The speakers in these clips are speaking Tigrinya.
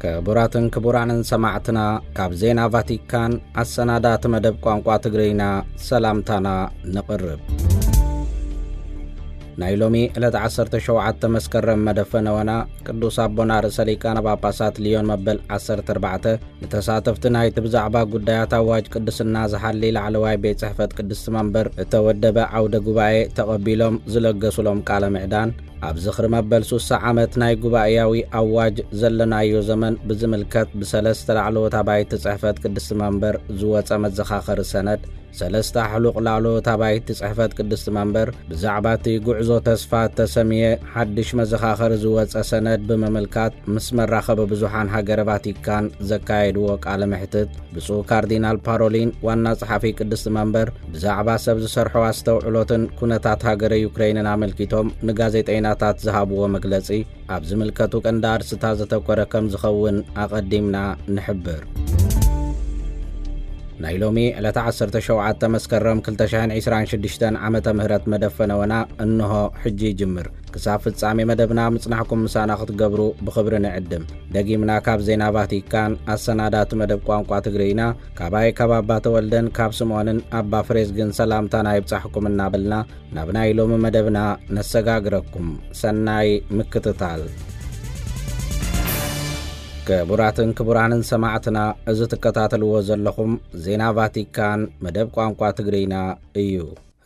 ክቡራትን ክቡራንን ሰማዕትና፣ ካብ ዜና ቫቲካን ኣሰናዳእቲ መደብ ቋንቋ ትግርኛ ሰላምታና ነቕርብ። ናይ ሎሚ ዕለት ዓሰርተ ሸውዓተ መስከረም መደብ ፈነወና ቅዱስ ኣቦና ርእሰ ሊቃነ ጳጳሳት ሊዮን መበል ዓሰርተ ኣርባዕተ ንተሳተፍቲ ናይቲ ብዛዕባ ጉዳያት ኣዋጅ ቅድስና ዝሓሊ ላዕለዋይ ቤት ጽሕፈት ቅድስቲ መንበር እተወደበ ዓውደ ጉባኤ ተቐቢሎም ዝለገሱሎም ቃለ ምዕዳን፣ ኣብ ዝኽሪ መበል ሱሳ ዓመት ናይ ጉባኤያዊ ኣዋጅ ዘለናዮ ዘመን ብዝምልከት ብሰለስተ ላዕለዎት ኣባይቲ ጽሕፈት ቅድስቲ መንበር ዝወጸ መዘኻኸሪ ሰነድ፣ ሰለስተ ኣሕሉቕ ላዕለዎት ኣባይቲ ጽሕፈት ቅድስቲ መንበር ብዛዕባ እቲ ጉዕዞ ተስፋ እተሰምየ ሓድሽ መዘኻኸሪ ዝወጸ ሰነድ ብምምልካት ምስ መራኸቢ ብዙሓን ሃገረ ቫቲካን ዘካየድዎ ቃለ መሕትት፣ ብፁዕ ካርዲናል ፓሮሊን ዋና ጸሓፊ ቅድስቲ መንበር ብዛዕባ ሰብ ዝሰርሖ ኣስተውዕሎትን ኩነታት ሃገረ ዩክሬንን ኣመልኪቶም ንጋዜጠይናታት ዝሃብዎ መግለጺ ኣብ ዝምልከቱ ቀንዲ ኣርእስታት ዘተኮረ ከም ዝኸውን ኣቐዲምና ንሕብር። ናይ ሎሚ ዕለተ ዓሰርተ ሸውዓተ መስከረም ክልተ ሽሕን ዕስራን ሽዱሽተን ዓመተ ምህረት መደብ ፈነወና እንሆ ሕጂ ይጅምር። ክሳብ ፍጻሜ መደብና ምጽናሕኩም ምሳና ክትገብሩ ብኽብሪ ንዕድም። ደጊምና ካብ ዜና ቫቲካን ኣሰናዳእቲ መደብ ቋንቋ ትግርኛ፣ ካባይ ካብ ኣባ ተወልደን ካብ ስምዖንን ኣባ ፍሬዝግን ሰላምታና ይብጻሕኩም እናበልና ናብ ናይ ሎሚ መደብና ነሰጋግረኩም። ሰናይ ምክትታል። ክቡራትን ክቡራንን ሰማዕትና፣ እዚ ትከታተልዎ ዘለኹም ዜና ቫቲካን መደብ ቋንቋ ትግርኛ እዩ።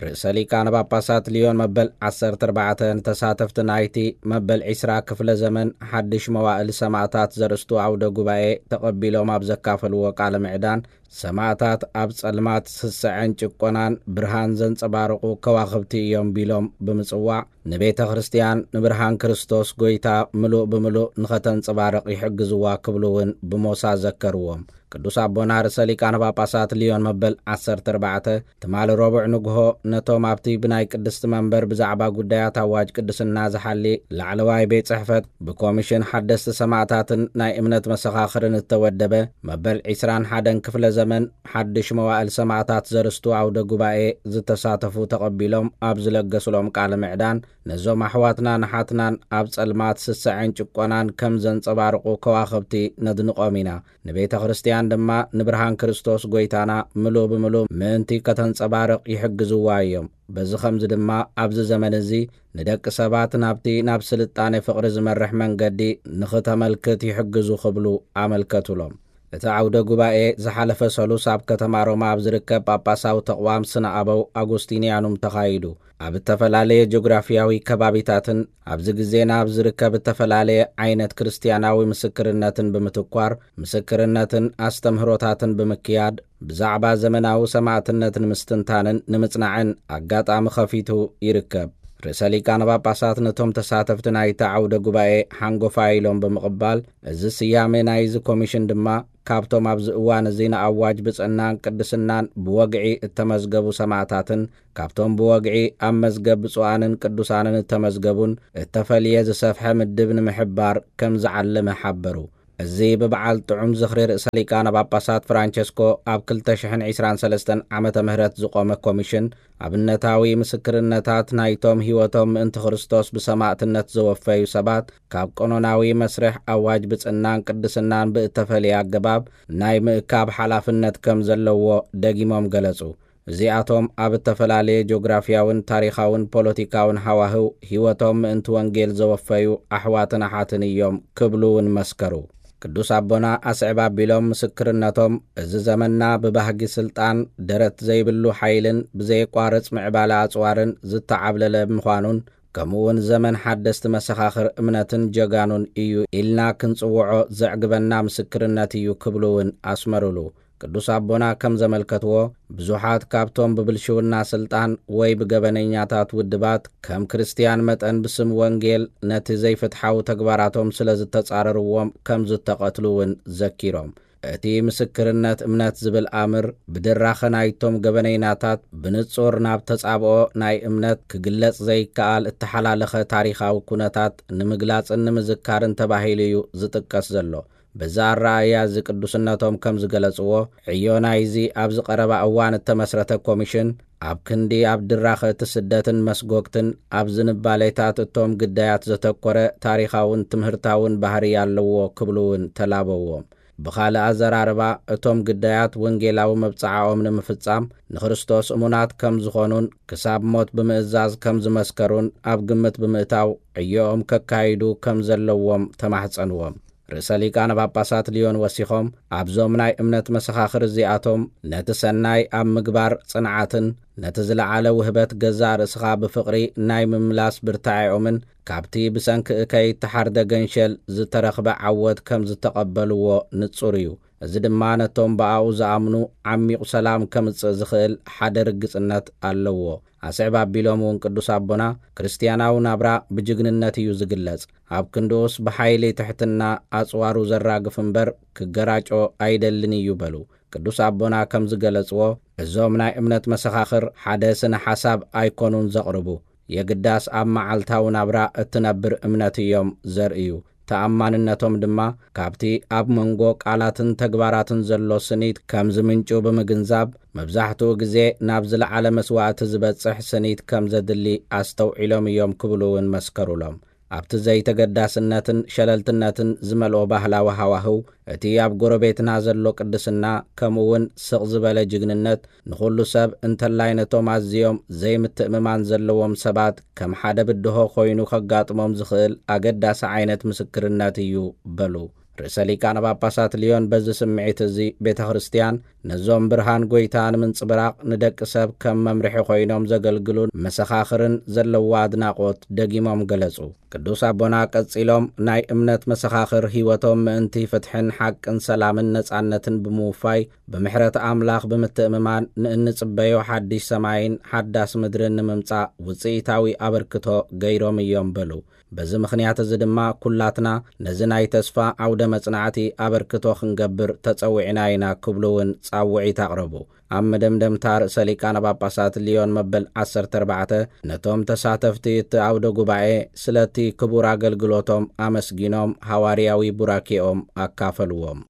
ርእሰ ሊቃነ ጳጳሳት ሊዮን መበል ዓሰርተ ኣርባዕተ ንተሳተፍቲ ናይቲ መበል ዕስራ ክፍለ ዘመን ሓድሽ መዋእል ሰማዕታት ዘርእስቱ ዓውደ ጉባኤ ተቐቢሎም ኣብ ዘካፈልዎ ቃለ ምዕዳን፣ ሰማዕታት ኣብ ጸልማት ስስዐን ጭቆናን ብርሃን ዘንጸባርቑ ከዋኽብቲ እዮም ቢሎም ብምጽዋዕ፣ ንቤተ ክርስቲያን ንብርሃን ክርስቶስ ጐይታ ምሉእ ብምሉእ ንኸተንጸባርቕ ይሕግዝዋ ክብሉ እውን ብሞሳ ዘከርዎም። ቅዱስ ኣቦና ርእሰ ሊቃነ ጳጳሳት ሊዮን መበል ዓሰርተ ኣርባዕተ ትማሊ ረቡዕ ንግሆ ነቶም ኣብቲ ብናይ ቅድስቲ መንበር ብዛዕባ ጉዳያት ኣዋጅ ቅድስና ዝሓሊ ላዕለዋይ ቤት ጽሕፈት ብኮሚሽን ሓደስቲ ሰማዕታትን ናይ እምነት መሰኻኽርን እተወደበ መበል ዕስራን ሓደን ክፍለ ዘመን ሓድሽ መዋእል ሰማዕታት ዘርስቱ ዓውደ ጉባኤ ዝተሳተፉ ተቐቢሎም ኣብ ዝለገሱሎም ቃለ ምዕዳን፣ ነዞም ኣሕዋትናን ኣሓትናን ኣብ ጸልማት ስስዐን ጭቆናን ከም ዘንጸባርቑ ከዋኽብቲ ነድንቖም ኢና። ንቤተ ክርስቲያን ድማ ንብርሃን ክርስቶስ ጐይታና ምሉእ ብምሉእ ምእንቲ ከተንጸባርቕ ይሕግዝዋ እዮም። በዚ ኸምዚ ድማ ኣብዚ ዘመን እዚ ንደቂ ሰባት ናብቲ ናብ ስልጣኔ ፍቕሪ ዝመርሕ መንገዲ ንኽተመልክት ይሕግዙ ክብሉ ኣመልከቱሎም። እቲ ዓውደ ጉባኤ ዝሓለፈ ሰሉስ ኣብ ከተማ ሮማ ኣብ ዝርከብ ጳጳሳዊ ተቕዋም ስነ ኣበው ኣጉስቲንያኑም ተኻይዱ። ኣብ እተፈላለየ ጂኦግራፊያዊ ከባቢታትን ኣብዚ ግዜና ኣብ ዝርከብ እተፈላለየ ዓይነት ክርስትያናዊ ምስክርነትን ብምትኳር፣ ምስክርነትን ኣስተምህሮታትን ብምክያድ፣ ብዛዕባ ዘመናዊ ሰማዕትነት ንምስትንታንን ንምጽናዕን ኣጋጣሚ ኸፊቱ ይርከብ። ርእሰ ሊቃነ ጳጳሳት ነቶም ተሳተፍቲ ናይቲ ዓውደ ጉባኤ ሓንጎፋይ ኢሎም ብምቕባል፣ እዚ ስያመ ናይዚ ኮሚሽን ድማ ካብቶም ኣብዚ እዋን እዚ ንኣዋጅ ብጽዕናን ቅድስናን ብወግዒ እተመዝገቡ ሰማዕታትን ካብቶም ብወግዒ ኣብ መዝገብ ብፁዓንን ቅዱሳንን እተመዝገቡን እተፈልየ ዝሰፍሐ ምድብ ንምሕባር ከም ዝዓለመ ሓበሩ። እዚ ብበዓል ጥዑም ዝኽሪ ርእሰ ሊቃነ ጳጳሳት ፍራንቸስኮ ኣብ ክልተ ሽሕን ዕስራን ሰለስተን ዓመተ ምህረት ዝቖመ ኮሚሽን፣ ኣብነታዊ ምስክርነታት ናይቶም ህይወቶም ምእንቲ ክርስቶስ ብሰማዕትነት ዘወፈዩ ሰባት፣ ካብ ቀኖናዊ መስርሕ ኣዋጅ ብጽናን ቅድስናን ብእተፈልየ ኣገባብ ናይ ምእካብ ሓላፍነት ከም ዘለዎ ደጊሞም ገለጹ። እዚኣቶም ኣብ እተፈላለየ ጂኦግራፍያውን ታሪኻውን ፖለቲካውን ሃዋህው ህይወቶም ምእንቲ ወንጌል ዘወፈዩ ኣሕዋትን ኣሓትን እዮም ክብሉ እውን መስከሩ። ቅዱስ ኣቦና ኣስዕብ ኣቢሎም ምስክርነቶም፣ እዚ ዘመንና ብባህጊ ስልጣን፣ ደረት ዘይብሉ ሓይልን ብዘየቋርጽ ምዕባለ ኣጽዋርን ዝተዓብለለ ምዃኑን፣ ከምኡ እውን ዘመን ሓደስቲ መሰኻኽር እምነትን ጀጋኑን እዩ ኢልና ክንጽውዖ ዘዕግበና ምስክርነት እዩ ክብሉ እውን ኣስመሩሉ። ቅዱስ ኣቦና ከም ዘመልከትዎ፣ ብዙሓት ካብቶም ብብልሽውና ስልጣን ወይ ብገበነኛታት ውድባት ከም ክርስትያን መጠን ብስም ወንጌል ነቲ ዘይፍትሓዊ ተግባራቶም ስለ ዝተጻረርዎም ከም ዝተቐትሉ እውን ዘኪሮም፣ እቲ ምስክርነት እምነት ዝብል ኣምር ብድራኸ ናይቶም ገበነይናታት ብንጹር ናብ ተጻብኦ ናይ እምነት ክግለጽ ዘይከኣል እተሓላለኸ ታሪኻዊ ኩነታት ንምግላጽን ንምዝካርን ተባሂሉ እዩ ዝጥቀስ ዘሎ። በዚ ኣረኣእያ እዚ ቅዱስነቶም ከም ዝገለጽዎ፣ ዕዮ ናይዚ ኣብዚ ቀረባ እዋን እተመስረተ ኮሚሽን ኣብ ክንዲ ኣብ ድራኸ እቲ ስደትን መስጎግትን፣ ኣብ ዝንባሌታት እቶም ግዳያት ዘተኮረ ታሪኻውን ትምህርታውን ባህሪ ኣለዎ ክብሉ እውን ተላበዎም። ብኻልእ ኣዘራርባ፣ እቶም ግዳያት ወንጌላዊ መብጽዓኦም ንምፍጻም ንክርስቶስ እሙናት ከም ዝኾኑን ክሳብ ሞት ብምእዛዝ ከም ዝመስከሩን ኣብ ግምት ብምእታው፣ ዕዮኦም ከካይዱ ከም ዘለዎም ተማሕጸንዎም። ርእሰ ሊቃነ ጳጳሳት ሊዮን ወሲኾም፣ ኣብዞም ናይ እምነት መሰኻኽር እዚኣቶም ነቲ ሰናይ ኣብ ምግባር ጽንዓትን ነቲ ዝለዓለ ውህበት ገዛእ ርእስኻ ብፍቕሪ ናይ ምምላስ ብርታዔኦምን ካብቲ ብሰንኪ እከይ እተሓርደ ገንሸል ዝተረኽበ ዓወት ከም ዝተቐበልዎ ንጹር እዩ። እዚ ድማ ነቶም ብኣኡ ዝኣምኑ ዓሚቑ ሰላም ከምጽእ ዝኽእል ሓደ ርግጽነት ኣለዎ። ኣስዕብ ኣቢሎም እውን ቅዱስ ኣቦና፣ ክርስትያናዊ ናብራ ብጅግንነት እዩ ዝግለጽ። ኣብ ክንድኡስ ብሓይሊ ትሕትና ኣጽዋሩ ዘራግፍ እምበር ክገራጮ ኣይደልን እዩ በሉ። ቅዱስ ኣቦና ከም ዝገለጽዎ፣ እዞም ናይ እምነት መሰኻኽር ሓደ ስነ ሓሳብ ኣይኮኑን ዘቕርቡ። የግዳስ ኣብ መዓልታዊ ናብራ እትነብር እምነት እዮም ዘርእዩ። ተኣማንነቶም ድማ ካብቲ ኣብ መንጎ ቃላትን ተግባራትን ዘሎ ስኒት ከም ዝምንጩ ብምግንዛብ፣ መብዛሕትኡ ግዜ ናብ ዝለዓለ መስዋእቲ ዝበጽሕ ስኒት ከም ዘድሊ ኣስተውዒሎም እዮም ክብሉ እውን መስከሩሎም። ኣብቲ ዘይተገዳስነትን ሸለልትነትን ዝመልኦ ባህላዊ ሃዋህው፣ እቲ ኣብ ጎረቤትና ዘሎ ቅድስና፣ ከምኡ እውን ስቕ ዝበለ ጅግንነት፣ ንኹሉ ሰብ እንተላይ ነቶም ኣዝዮም ዘይምትእምማን ዘለዎም ሰባት ከም ሓደ ብድሆ ኮይኑ ከጋጥሞም ዝኽእል ኣገዳሲ ዓይነት ምስክርነት እዩ በሉ። ርእሰ ሊቃነ ጳጳሳት ሊዮን በዚ ስምዒት እዚ ቤተ ክርስቲያን ነዞም ብርሃን ጐይታ ንምንጽብራቕ ንደቂ ሰብ ከም መምርሒ ኮይኖም ዘገልግሉን መሰኻኽርን ዘለዋ ኣድናቖት ደጊሞም ገለጹ። ቅዱስ ኣቦና ቀጺሎም፣ ናይ እምነት መሰኻኽር ህይወቶም ምእንቲ ፍትሕን ሓቅን ሰላምን ነጻነትን ብምውፋይ፣ ብምሕረት ኣምላኽ ብምትእምማን ንእንጽበዮ ሓድሽ ሰማይን ሓዳስ ምድርን ንምምጻእ ውጽኢታዊ ኣበርክቶ ገይሮም እዮም በሉ። በዚ ምኽንያት እዚ ድማ ኩላትና ነዚ ናይ ተስፋ ዓውደ መጽናዕቲ ኣበርክቶ ክንገብር ተጸዊዕና ኢና ክብሉ እውን ጻውዒት ኣቕረቡ። ኣብ መደምደምታ ርእሰ ሊቃነ ጳጳሳት ሊዮን መበል ዓሰርተ ኣርባዕተ ነቶም ተሳተፍቲ እቲ ዓውደ ጉባኤ ስለቲ ክቡር ኣገልግሎቶም ኣመስጊኖም ሃዋርያዊ ቡራኬኦም ኣካፈልዎም።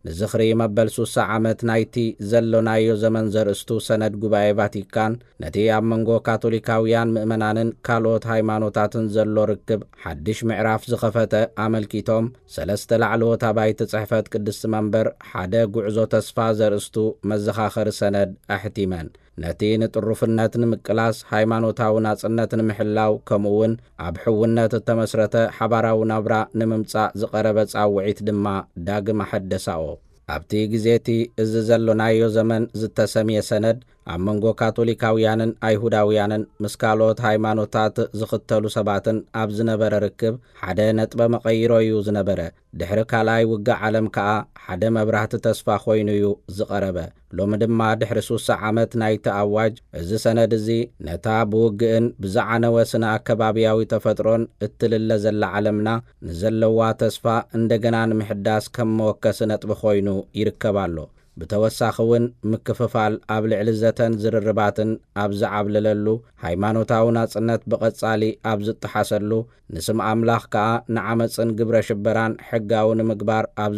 ንዝኽሪ መበል ሱሳ ዓመት ናይቲ ዘሎናዮ ዘመን ዘርእስቱ ሰነድ ጉባኤ ቫቲካን፣ ነቲ ኣብ መንጎ ካቶሊካውያን ምእመናንን ካልኦት ሃይማኖታትን ዘሎ ርክብ ሓድሽ ምዕራፍ ዝኸፈተ ኣመልኪቶም፣ ሰለስተ ላዕለዎት ኣባይቲ ጽሕፈት ቅድስቲ መንበር ሓደ ጉዕዞ ተስፋ ዘርእስቱ መዘኻኸሪ ሰነድ ኣሕቲመን። ነቲ ንጥሩፍነት ንምቅላስ፣ ሃይማኖታዊ ናጽነት ንምሕላው፣ ከምኡ እውን ኣብ ሕውነት እተመስረተ ሓባራዊ ናብራ ንምምጻእ ዝቐረበ ጻውዒት ድማ ዳግም ኣሐደሳኦ። ኣብቲ ግዜ እቲ እዚ ዘሎናዮ ዘመን ዝተሰምየ ሰነድ፣ ኣብ መንጎ ካቶሊካውያንን ኣይሁዳውያንን ምስ ካልኦት ሃይማኖታት ዝኽተሉ ሰባትን ኣብ ዝነበረ ርክብ ሓደ ነጥበ መቐይሮ እዩ ዝነበረ። ድሕሪ ካልኣይ ውግእ ዓለም ከኣ ሓደ መብራህቲ ተስፋ ኮይኑ እዩ ዝቐረበ። ሎሚ ድማ ድሕሪ ሱሳ ዓመት ናይቲ ኣዋጅ፣ እዚ ሰነድ እዚ ነታ ብውግእን ብዝዓነወ ስነ ኣከባብያዊ ተፈጥሮን እትልለ ዘላ ዓለምና ንዘለዋ ተስፋ እንደገና ንምሕዳስ ከም መወከሲ ነጥቢ ኮይኑ ይርከብ ኣሎ። ብተወሳኺ እውን ምክፍፋል ኣብ ልዕሊ ዘተን ዝርርባትን ኣብ ዝዓብለለሉ፣ ሃይማኖታዊ ናጽነት ብቐጻሊ ኣብ ዝጠሓሰሉ፣ ንስም ኣምላኽ ከኣ ንዓመጽን ግብረ ሽበራን ሕጋዊ ንምግባር ኣብ